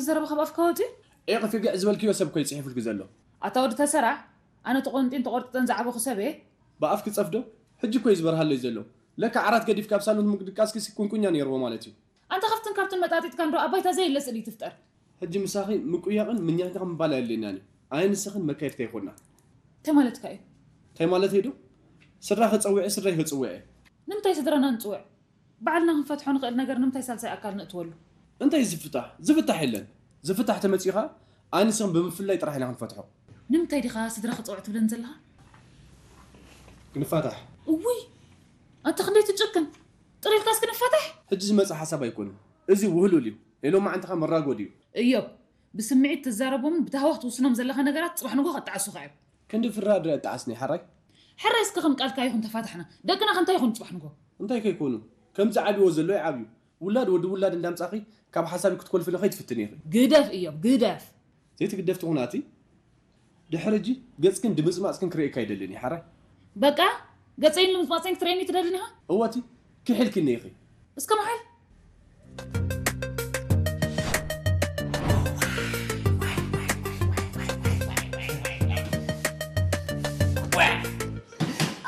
ዘረባ ካብ ኣፍካ ወፂኡ? ኤ፣ ቅፊ ግዕ ዝበልክዮ ሰብ እኮ እዩ ፅሒፉልኪ ዘሎ። ኣታ ወዲ ተሰራዕ፣ ኣነ ተቆንጢን ተቆርጥጠን ዝዓበኹ ሰብ እየ። ብኣፍኪ ፀፍዶ? ሕጂ እኮ እዩ ዝበርሃለይ ዘሎ። ለካ ዓራት ገዲፍካ ኣብ ሳሎን ምድቃስኪ ሲ ቁንቁኛ ነይርዎ ማለት እዩ። ኣንታ ካብትን ካብትን መጣጢጥካ እንዶ ኣብ ባይታ ዘየለ ስእሊ ትፍጠር። ሕጂ ምሳኺ ምቁያቕን ምኛኛቕ ምባል ኣየድልየናን እዩ። ኣነ ንስኽን መካየድቲ ኣይኮና። እንታይ ማለትካ እዩ? እንታይ ማለተይ ዶ? ስድራ ከጸውዐ ስድራይ ከጽውዐ። ንምንታይ ስድራና ንጽውዕ? ባዕልና ክንፈትሖ ንኽእል ነገር ንምንታይ ሳልሳይ ኣካል ነእትወሉ? እንታይ ዝፍታሕ? ዝፍታሕ የለን። ዝፍታሕ ተመጺኡ ኸኣ ኣነ ንስኽን ብምፍላይ ጥራሕ ኢና ክንፈትሖ። ንምንታይ ዲኻ ስድራ ክጸውዕ ትብለን ዘለኻ? ክንፋታሕ። እውይ! ኣታ ክንደይ ትጭክን! ጥሪልካስ ክንፋታሕ? ሕጂ ዝመጽእ ሓሳብ ኣይኮነን። እዚ ውህሉል እዩ። ናይ ሎማዓንቲ ኸኣ መራጎዲ እዩ። እዮብ፣ ብስምዒት ትዛረቦምን ብታህዋኽ ትውስኖም ዘለኻ ነገራት ጽባሕ ንግሆ ከጣዕሱኻ እዮም። ክንዲ ፍራ ድረ እጣዓስኒ ሓራይ። ሕራይ እስከ ከም ቃልካ ይኹን ተፋታሕና። ደቅና ከ እንታይ ይኹን ጽባሕ ንግሆ? እንታይ ከይኮኑ? ከምዚ ዓብይዎ ዘሎ ይዓብዩ። ውላድ ወዲ ውላድ እንዳምጻኺ ካብ ሓሳብ ክትኮልፍኒ ከይትፍትኒ ኢኺ። ግደፍ እዮብ፣ ግደፍ። ዘይትግደፍ ትኹን ኣቲ ድሕሪ ሕጂ ገጽክን ድምጽማጽክን ክርእየካ ኣይደልን እየ ሓራይ። በቃ ገጸይን ልምጽማጸይን ክትርእየኒ ትደልን ኢኻ? እወ ኣቲ ክሒልክኒ ኢኺ። እስከ መሓል።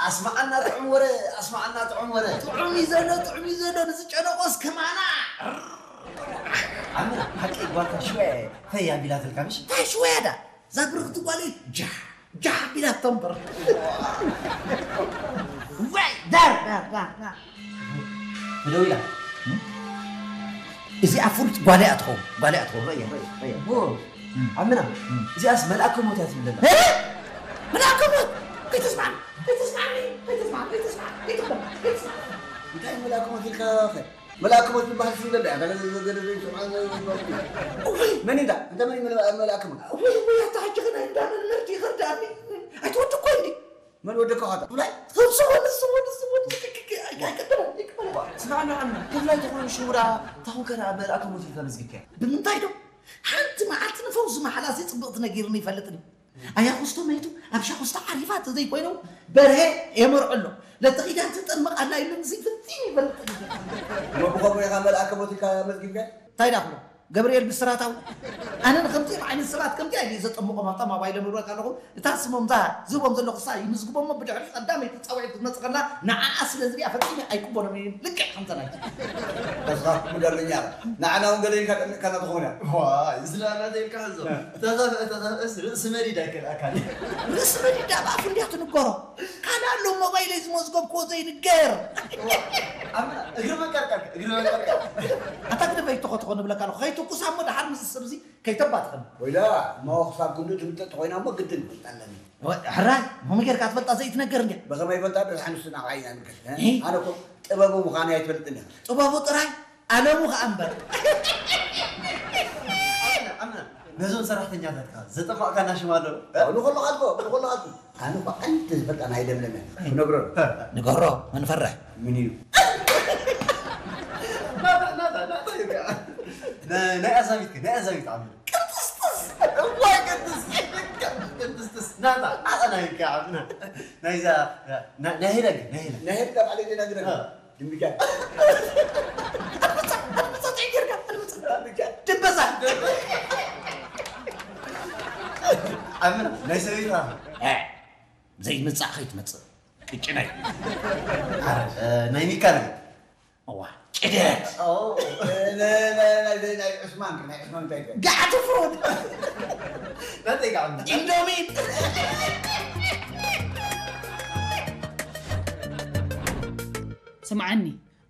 ኣስማዓና ጥዑም ወረ፣ ኣስማዓና ጥዑም ወረ። ጥዑም እዩ ዘሎ፣ ጥዑም እዩ ዘሎ፣ ንዝጨነቆስ ከማና። ኣመና ሓቂ ጓልካ ሽወ ፈይ ኣቢላትልካ ምሽ? እንታይ ሽወ ዳ? እዛ ብርኽቲ ጓለይ ጃሕ ጃሕ ኣቢላቶ እምበር። ዋይ ዳር ዳር ዳር ዳር። ተደዊላ። እዚኣ ፍሉጥ ጓል እያ ትኸውን፣ ጓል እያ ትኸውን። ረእየ፣ ረእየ፣ ረእየ። ኣቦ፣ ኣመና፣ እዚኣስ መልኣከ ሞት እያ ትብል ዘላ። እ? መልኣከ ሞት? ከይተስማዕኒ፣ ከይተስማዕኒ፣ ከይተስማዕኒ፣ ከይተስማዕኒ፣ ከይተስማዕኒ፣ ከይተስማዕኒ። እንታይ መልኣከ ሞት ኢልካ ኸ? መልኣከ ሞት ዝበሃል ስም ዘሎ እያ። ገለ፣ ገለ ዘይሰምዓ፣ ዘይሰምዓ። እውይ! መን እንዳ? እንታይ መን እዩ መልኣ-፣ መልኣከ ሞት? እውይ፣ እውይ፣ ኣታ ሕጂ ኸ ናይ እንዳ መን መርዲ ይኸርዳኒ? ኣይትወዲ እኮ እንዲ። መን ወደካ ኻታ? ብላይ? ስሙ፣ ስሙ፣ ስሙ፣ ስሙ፣ ኣይቀደመን፣ ኣይቀደመን። ስማዕ፣ ንዓና፣ ክፍላይ ተኾይኑ ሽውራ፣ ታኹን ከ ደኣ መልኣከ ሞት ኢልካ መዝጊብካያ? ብምንታይ ዶ? ሓንቲ መዓልቲ ንፈውዚ መሓላሲ ጽብቕቲ ነጊርኒ ይፈልጥኒ። ኣያ ኩስቶ መይቱ፣ ኣብ ሻኹስቶ ዓሪፋ ተዘይኮይኑ፣ በርሄ የመርዖ ኣሎ። ለተኺዳን ትጠመቕ ኣላ ኢሉኒ፣ እዚ ፍጺም ይፈልጥኒ። እሞ ብኸምኡ ኢኻ መልኣከ ሞት ኢልካ መዝጊብካያ? እንታይ ዳኽሎ? ገብርኤል ብስራት ኣውሎ። ኣነ ንከምዚኦም ዓይነት ሰባት ከምዚኣ ኢለ ዘጠምቖም ኣብታ ሞባይሎም እብለካ ኣለኹ። እታ ስሞም እዛ ዝህቦም ዘለኹ እሳ ይምዝግቦ እሞ ብድሕሪ ቀዳመይቲ ጻውዒት ክትመጽእ ከላ ንዓኣ ስለ ዝሪኣ ፈጺመ ኣይቅበሎምን እየ። ልክዕ ከምታ ናይቲ። ተስፋ ምገርኛ። ንዓና እውን ገለ ኢልካ ጠሚቕካና ትኸውን እያ። ዋይ፣ ዝለኣና ዘይብልካ ሕዞ። ተኸፍአ፣ ተኸፍአስ ርእሲ መዲድ ኣይከልኣካን። ርእሲ መዲድ ኣብ ኣፉ እንድያ ትንገሮ። ካልእ ኣሎ ሞባይለይ ዝመዝገብክዎ ዘይንገር። ኣመና፣ እግሪ መንቀርቀር፣ እግሪ መንቀርቀር። ኣታ ግደፈይ ተኾ ተኾ ንብለካ ኣለኹ። ከይትኩሳ እሞ ደሓር ምስ ሰብዚ ከይተባትኸኒ። ወይዳ፣ እሞ ክሳብ ክንዱ ትምጠጥ ኮይና እሞ ግድን ክፈልጣ ኣለኒ። ወ-፣ ሕራይ፣ ሞሚ ጌርካ ትፈልጣ ዘይትነገር እንድያ። ብኸመይ ይፈልጣ? ደስ ሓንሱ ናብዓይ ኢና ንገር፣ እ? እ? ኣነ እኮ ጥበቡ ምዃኑ ኣይትፈልጥን እያ። ጥበቡ ጥራይ፣ ኣለሙ ኸኣ እምበር። ኣምና፣ ኣምና፣ ነዞም ሰራሕተኛታትካ ዘጠፋእካና ሽም ኣሎ? ንኸሎ ኻልኮ፣ ንኸሎ ኻልኮ። ኣነ እኮ ዓንቲ ዝፈልጣ ናይ ለምለም እያ። ክነግሮ። ንገሮ፣ መንፈርሕ። ምን እዩ? ናታ፣ ናታ፣ ናታ እዩ ከኣ። ነ-፣ ናይ ኣዛቢት ከ፣ ናይ ኣዛቢት ዓምር። ቅንጥስጥስ! እዋይ ቅንጥስ! ቅንጥስጥስ! ናታ፣ ናታ ናይ ከ ዓምና። ናይዛ፣ ና-፣ ናይ ሄለን ከ፣ ናይ ሄለን። ናይ ሄለን ካብ ዓሌት ዜና ግደፍ። እ። ድንቢጫ። ኣድምጻ፣ ኣድምጻ፣ እንታይ ጌርካ? ኣድምጻ። ድንበሳ። ዓምር፣ ናይ ሰበይትኻ። እ። ዘይምጻእ ከይትመጽእ። ቅጭነይ። እ፣ ናይ ሚካል። እዋ፣ ጭደት። ኦ፣ እ፣ ናይ፣ ናይ፣ ናይ፣ ናይ፣ ናይ ዑስማን፣ ናይ ዑስማን እንታይ እንታይ? ጋዕ ትፍሩድ። ናተይ ጋዕ። ኢንዶሚ። ስምዓኒ፣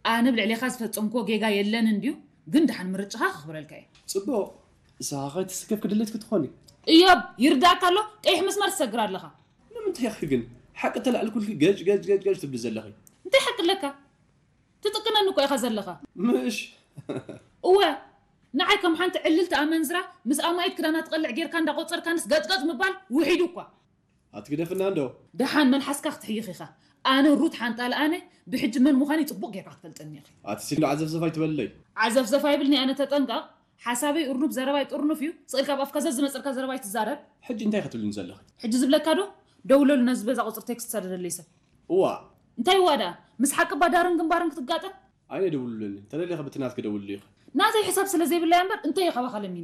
ኣነ ብልዕሌኻ ዝፈጸምክዎ ጌጋ የለን እንድዩ፣ ግን ደሓን ምርጫኻ ከኽብረልካ እየ። ጽቡቕ፣ ንስኻ ከይትስከፍ ክድልት ክትኾኒ። እዮብ፣ ይርዳእካ ኣሎ፣ ቀይሕ መስመር ትሰግር ኣለኻ። ንምንታይ ኢኺ ግን ሓቂ ተላዕልኩልኪ ገጭ፣ ገጭ፣ ገጭ፣ ገጭ ትብሊ ዘለኺ? እንታይ ሓቂ ኣለካ? ትጥቅነኒ እኮ ኢኻ ዘለኻ። ምሽ? እወ፣ ንዓይ ከም ሓንቲ ዕልልቲ ኣመንዝራ ምስ ኣማኢት ክዳና ትቐልዕ ጌርካ እንዳቆጸርካንስ ገጭ፣ ገጭ ምባል ውሒዱ እኳ። ኣትግደፍና እንዶ። ደሓን መልሓስካ ክትሕይኽ ኢኻ። ኣነ ሩት ሓንጣል ኣነ ብሕጂ መን ምዃነይ ጽቡቕ ጌርካ ክትፈልጠኒ ኢኺ። ኣቲ ሲንዶ ዓዘፍዘፍ ኣይትበልለይ። ዓዘፍዘፍ ኣይብልኒ ኣነ ተጠንቀቕ። ሓሳበይ እርኑብ ዘረባይ ጥርኑፍ እዩ። ስቕ ኢልካ ኣብ ኣፍካ ዘዝመጸልካ ዘረባ ኣይትዛረብ። ሕጂ እንታይ ክትብልኒ ዘለኺ? ሕጂ ዝብለካ ዶ? ደውለሉ ነዚ በዛ ቁጽሪ ቴክስት ሰደደለይ ሰብ። እዋ። እንታይ እዋ ደኣ? ምስ ሓቂ ባዳርን ግንባርን ክትጋጠም? ኣነ ደውልለኒ። ተደሊኺ ብቲ ናትኪ ደውልሉ ኢኺ። ናተይ ሕሳብ ስለ ዘይብለያ እምበር እንታይ እዩ ካባኻ ለሚነ?